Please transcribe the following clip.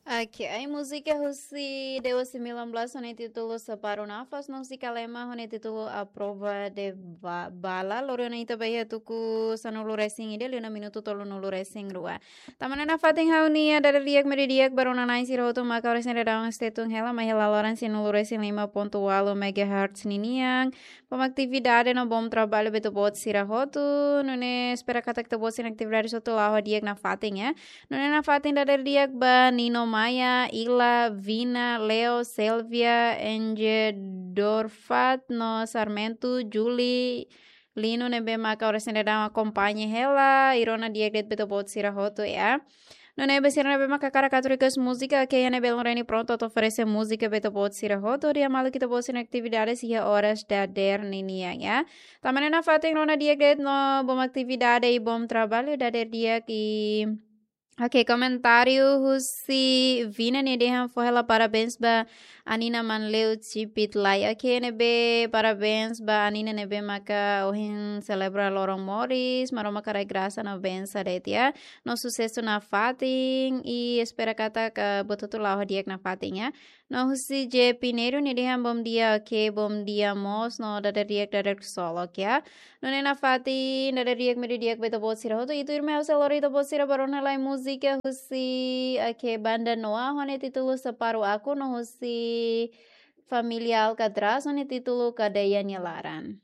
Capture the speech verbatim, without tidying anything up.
Ok, ai múzika husi Dewa sembilan belas ho nia títulu Separuh Nafas, no husi Kalema ho nia títulu A Prova de Ba-, Bala. Lori ona ita ba iha tuku sanulu resin ida, liu ona minutu tolunulu resin rua. Tanba ne'e nafatin ha'u-nia dada di'ak media di'ak ba rona-na'in sira hotu maka oras ne'e daudaun state tun hela, mai hela loron sanulu resin lima pontu ualu megahertz ninian. Bom atividade no bom trabalho ba ita-boot sira hotu. Nune'e espera katak ita-boot sira-nia atividade hotu la'o di'ak nafatin, ya. Nune'e nafatin dada di'ak ba Nino Maia, Ila, Vina, Leo, Selvia, Enge Dorfat, no Sarmento, Julie, Lino ne'ebé maka oras ne'e daudaun akompaña hela, i rona di'ak de'it ba ita-boot sira hotu, ya. Nune'e ba sira ne'ebé maka hakarak atu request múzika, ok, iha ne'ebé Loreni prontu atu oferese múzika ba ita-boot sira hotu, di'ak malu ita-boot sira-nia atividade iha oras dadeer ninian, ya. Tanba ne'e nafatin rona di'ak de'it no bom atividade i bom trabalho, dadeer di'ak i Ok, komentáriu husi Vina nia dehan fó hela parabéns ba Anina Manleu Cipit Lai. Ok, ne'ebé parabéns ba Anina ne'ebé maka ohin selebra loron moris, Maromak haraik grasa no bensa de'it, ya. No susesu nafatin, i espera katak buat hotu la'o di'ak nafatin, ya. No husi J Pinheiro nia dehan bom dia, ok, bom dia mós, no dada di'ak dada solok, ya. Nune'e nafatin dada di'ak media di'ak ba ita-boot sira hotu, i tuirmai ha'u sei lori ita-boot sira ba rona lai múzika husi, ok, banda Noah ho nia títulu Separuh Aku, no husi família Alcatraz ho nia títulu Kadeia nia Laran.